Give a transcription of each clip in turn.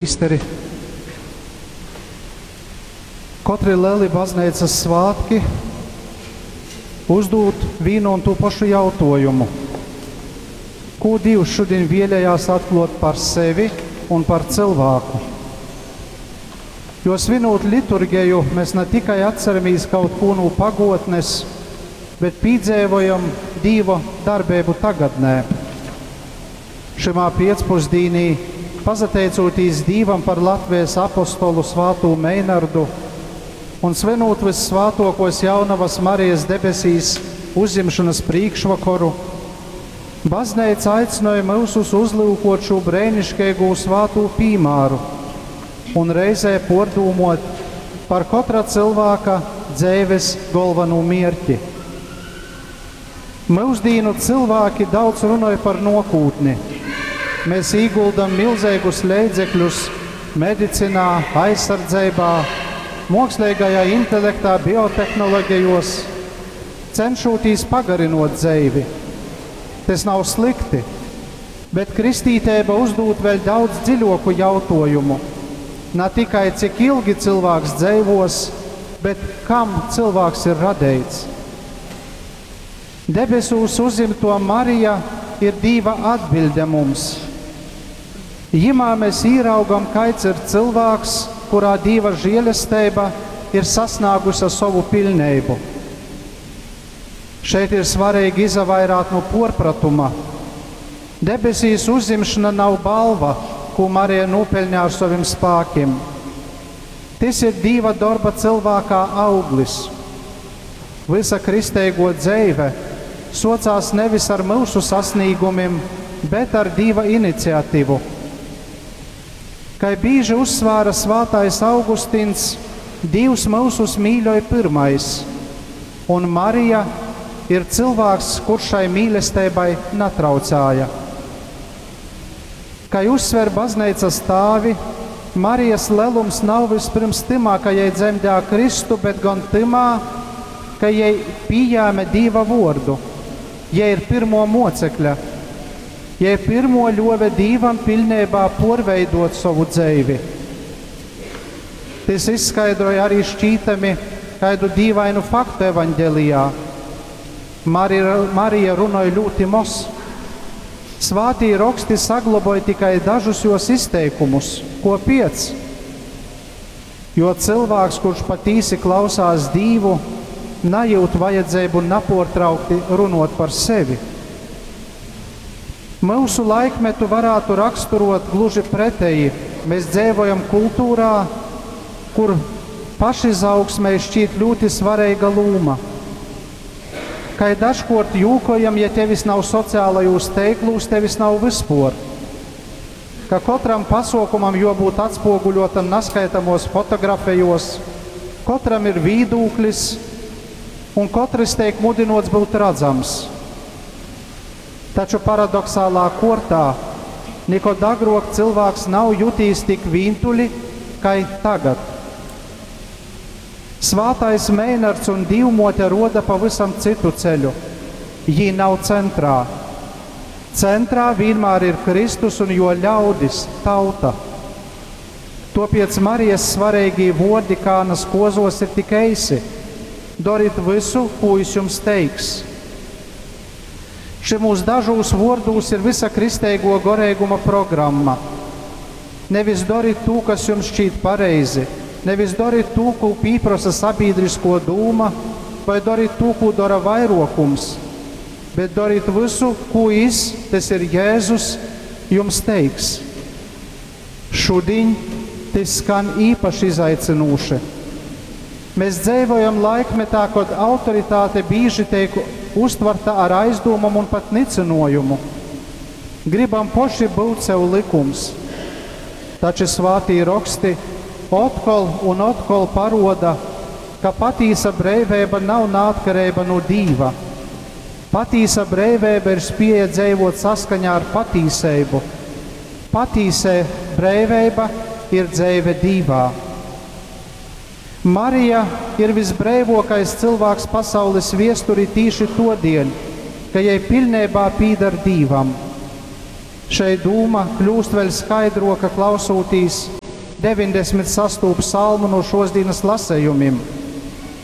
Prīsteri, kotri leli bazneicas svātki uzdūd vīnu un tū pašu jautuojumu. Kū Dīvs šudiņ vēlējās atkluot par sevi un par cylvāku? Jo svinūt liturgeju, mēs ne tikai atceramies kaut kū no pagotnes, bet pīdzeivojam Dīva darbeibu tagadnē. Šymā piecpusdīnī, pazateicūtīs Dīvam par Latvijas apostolu svātū Meinardu un svinūt Vyssvātuokuos Jaunavas Marijas debesīs uzjimšonys prīškvokoru, Bazneica aicynoj myusus uzlyukot šū breiniškeigū svātū pīmāru un reizē puordūmuot par kotra cylvāka dzeives golvanū mierķi. Myusdīnu cylvāki daudz runoj par nuokūtni. Mēs īguldam milzeigus leidzekļus medicinā, aizsardzeibā, muoksleigajā intelektā, biotehnologejuos, cenšūtīs pagarynuot dzeivi. Tys nav slikti, bet kristīteiba uzdūd vēļ daudz dziļuoku jautuojumu. Na tikai cik ilgi cylvāks dzeivuos, bet kam cylvāks ir radeits. Debesūs uzjimtuo Marija ir Dīva atbiļde mums. Jimā mēs īraugam, kaids ir cylvāks, kurā Dīva žielesteiba ir sasnāguse sovu piļneibu. Šeit ir svareigi izavairāt nu puorpratuma. Debesīs uzjimšana nav balva, kū Marija nūpeļņā ar sovim spākim. Tys ir Dīva dorba cylvākā auglis. Vysa kristeiguo dzeive suocās nevis ar myusu sasnīgumim, bet ar Dīva iniciativu. Kai bīži uzsvāra svātais Augustins, Dīvs myusus mīļoj pyrmais, un Marija ir cylvāks, kurš šai mīlesteibai natraucāja. Kai uzsver bazneicas tāvi, Marijas lelums nav vispirms tymā, ka jei dzemdēja Kristu, bet gon tymā, ka jei pījēme Dīva vuordu. Jei ir pyrmuo muocekļa. Jei pyrmuo ļuove Dīvam piļneibā puorveidot sovu dzeivi. Tys izskaidroj arī šķītami kaidu dīvainu faktu evaņģelijā. Marija runoj ļūti moz. Svātī roksti sagloboj tikai dažus juos izteikumus. Kuopiec? Jo cylvāks, kurš patīsi klausās Dīvu, najūt vajadzeibu napuortraukti runuot par sevi. Myusu laikmetu varātu raksturot gluži preteji. Mēs dzeivojam kultūrā, kur pašizaugsmei šķīt ļūti svareiga lūma. Kai dažkuort jūkojam, ja tevis nav sociālajūs teiklūs, tevis nav vyspuor. Ka kotram pasuokumam juobūt atspoguļotam naskaitamuos fotografejuos, kotram ir vīdūklis un kotrys teik mudynuots byut radzams. Taču paradoksālā kuortā nikod agruok cylvāks nav jutīs tik vīntuļi, kai tagad. Svātais Meinards un Dīvmuote ruoda pavysam cytu ceļu. Jī nav centrā. Centrā vīnmār ir Kristus un juo ļaudis, tauta. Tuopiec Marijas svareigī vuordi Kānas kuozuos ir tik eisi: Dorit vysu, kū jis jums teiks. Šymūs dažūs vuordūs ir vysa kristeiguo goreiguma programma. Nevis dorit tū, kas jums šķīt pareizi, nevis dorit tū, kū pīprosa sabīdriskuo dūma, vai dorit tū, kū dora vairuokums, bet dorit vysu, kū jis, tys ir Jēzus, jums teiks. Šudiņ tys skan īpaši izaicynūši. Mēs dzeivojam laikmetā, kod autoritāte bīži teik uztvarta ar aizdūmom un pat nycynuojumu. Gribam poši byut sev lykums. Taču svātī roksti otkol un otkol paruoda, ka patīsa breiveiba nav naatkareiba nu Dīva. Patīsa breiveiba ir spieja dzeivuot saskaņā ar patīseibu. Patīsē breiveiba ir dzeive Dīvā. Marija ir visbreivuokais cylvāks pasaulis viesturī tīši tuodieļ, ka jei piļneibā pīdar Dīvam. Šei dūma kļūst vēļ skaidruoka klausūtīs 96. psalmu no šosdienas lasējumim.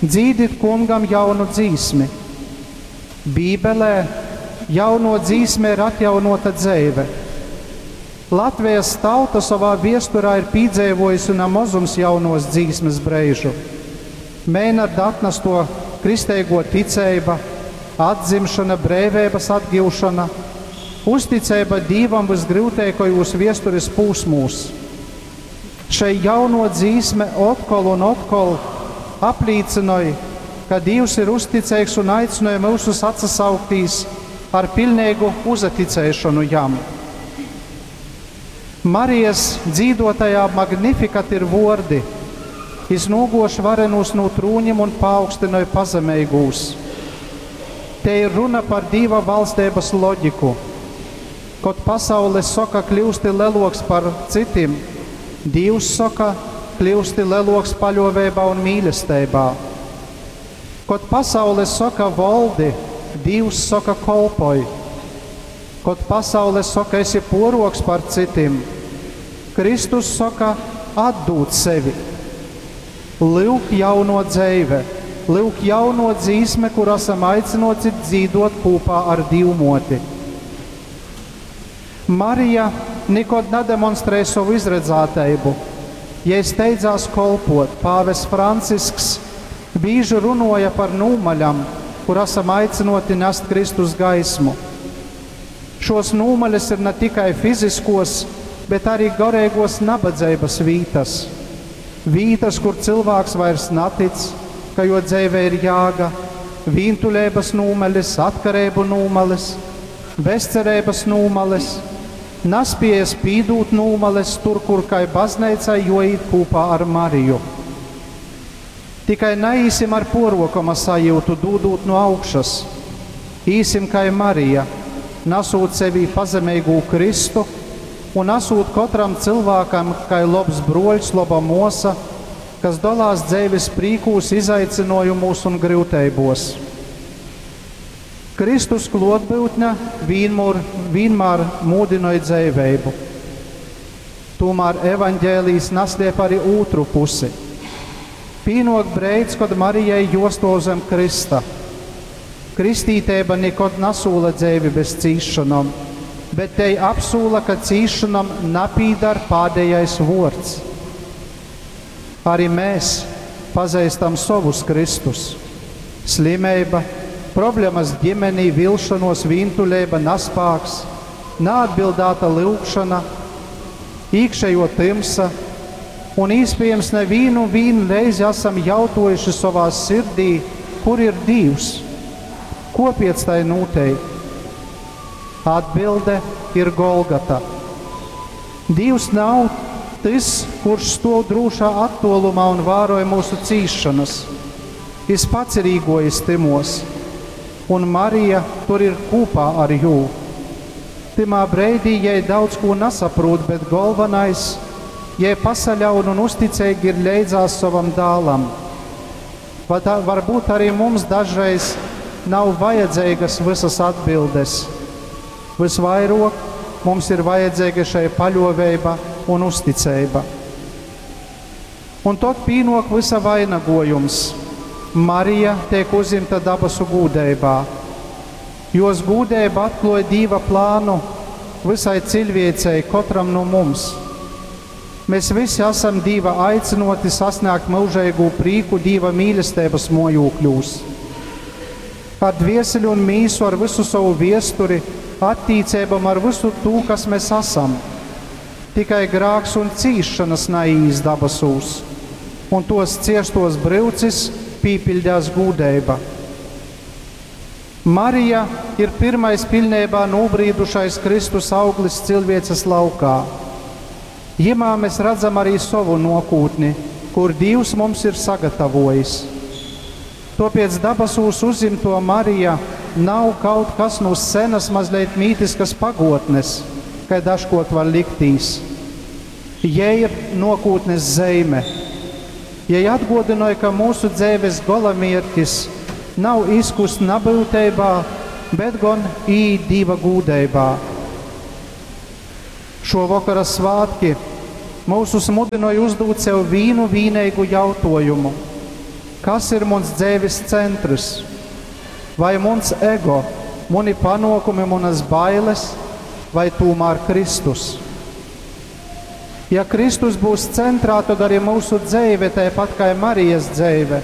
Dzīdit kungam jaunu dzīsmi. Bībelē jauno dzīsme ir atjaunota dzeive. Latvijas tauta savā viesturā ir pīdzeivojusi na mozums jaunos dzīsmes breižu. Meinarda atnesto kristeigo ticeiba, atzimšana, breiveibas atgivšana, uzticeiba Dīvam vysgryuteikajūs viesturis pūsmūs. Šei jauno dzīsme otkol un otkol aplīcynoj, ka Dīvs ir uzticeigs un aicināja mūsus atsasauktīs ar pilnīgu uzaticēšanu jam. Marijas dzīdotajā Magnificat ir vordi: Jis nūgoš varenūs no trūņiem un paaugstināja pazemeigūs. Te ir runa par Dīva valstības loģiku. Kod pasaule soka kļūsti leloks par citim, Dīvs soka kļūsti leloks paļoveibā un mīlestībā. Kod pasaule soka voldi, Dīvs soka kolpoj. Kod pasaule soka esi poroks par citim, Kristus soka atdūt sevi. Lyuk jauno dzeive, lyuk jauno dzīsme, kur esam aicināti dzīdot kopā ar Dīvmoti. Marija nekad nedemonstrēja savu izredzētību. Ja steidzās kolpot, pāvests Francisks bieži runoja par nūmaļam, kur esam aicināti nest Kristus gaismu. Šos nūmaļas ir ne tikai fiziskos, bet arī garīgos nabadzības vītas. Vītas, kur cilvēks vairs natic, ka jo dzīvē ir jāga, vīntuļības nūmalis, atkarību nūmalis, bezcerības nūmalis, naspējas pīdūt nūmales tur, kur kai bazneicai joīt kopā ar Mariju. Tikai neīsim ar porokama sajūtu, dūdūt no augšas. Īsim kai Marija, nesūt sevī pazemīgu Kristu un esūt katram cilvēkam kai lobs broļs, loba mosa, kas dolās dzeives prīkūs, izaicinojumūs un gryuteibos. Kristus klotbūtne vienmēr, vienmēr mūdinoja dzeiveibu. Tomēr evaņģēlijs nasliep arī otru pusi. Pīnok breids, kad Marijai josto zem Krista. Kristītēba nekad nesūla dzeivi bez cīšanām, bet te apsūla, ka cīšanām napīdar pādējais vords. Arī mēs pazīstam savus Kristus. Slimība, problēmas ģimenī, vilšanos, vīntuļība, naspāks, neatbildēta lūgšana, iekšējo timsa, un iespējams nevienu vienu reizi esam jautojuši savā sirdī, kur ir Dievs, kopiec tai noteikti. Atbilde ir Golgata. Dievs nav tas, kurš stāv drūšā attālumā un vēroja mūsu cīšanas. Jis pats ir īgojis timos, un Marija tur ir kopā ar jū. Timā breidī jai daudz ko nesaprot, bet galvenais, jai pasaļaun un uzticīgi ir leidzās savam dālam. Varbūt arī mums dažreiz nav vajadzīgas visas atbildes. Visvairāk mums ir vajadzīga šai paļoveiba un uzticība. Un tad pīnok visa vainagojums. Marija tiek uzimta dabasu gūdeibā. Jos gūdeiba atklāja Dieva plānu visai cilvēcei, katram no mums. Mēs visi esam Dieva aicinoti sasniegt mūžīgu prieku Dieva mīlestības mojūkļūs. Ar dvieseli un mīsu, ar visu savu viesturi, attīcībam ar visu to, kas mēs esam. Tikai grāks un cīšanas naīs dabasūs, un tos ciestos brīvcis pīpiļdās gūdeiba. Marija ir pirmais pilnībā nobrīdušais Kristus auglis cilvēces laukā. Jimā mēs redzam arī savu nokūtni, kur Dievs mums ir sagatavojis. Tāpēc dabasūs uzimto Marija nav kaut kas no senas mazliet mītiskas pagotnes, kai dažkot var liktīs. Jai ir nokūtnes zeime. Jai atgodināja, ka mūsu dzīves golamierķis nav izkust nabūtībā, bet gan īt Dieva gūdeibā. Šo vokara svātki myusus mudynoj uzdūt sev vīnu vīneigu jautuojumu. Kas ir muns dzeivis centrs? Vai muns ego, muni panuokumi, munys bailes, vai tūmār Kristus? Ja Kristus būs centrā, tad arī mūsu dzeive, tāpat kā Marijas dzeive,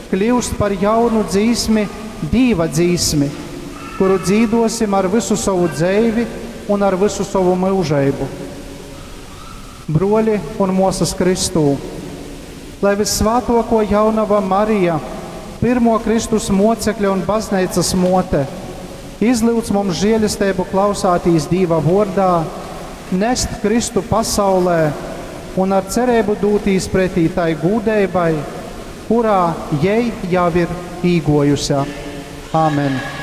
kļūst par jaunu dzīsmi, Dīva dzīsmi, kuru dzīdosim ar visu savu dzeivi un ar visu savu mūžību. Broļi un mosas Kristū, lai vissvātoko jaunava Marija, pirmo Kristus mocekļa un baznīcas mote, izlūdz mums žēlistību klausātīs Dīva vordā, nest Kristu pasaulē un ar cerību dūtīs pretī tai gūdeibai, kurā jei jau ir īgojusi. Āmen!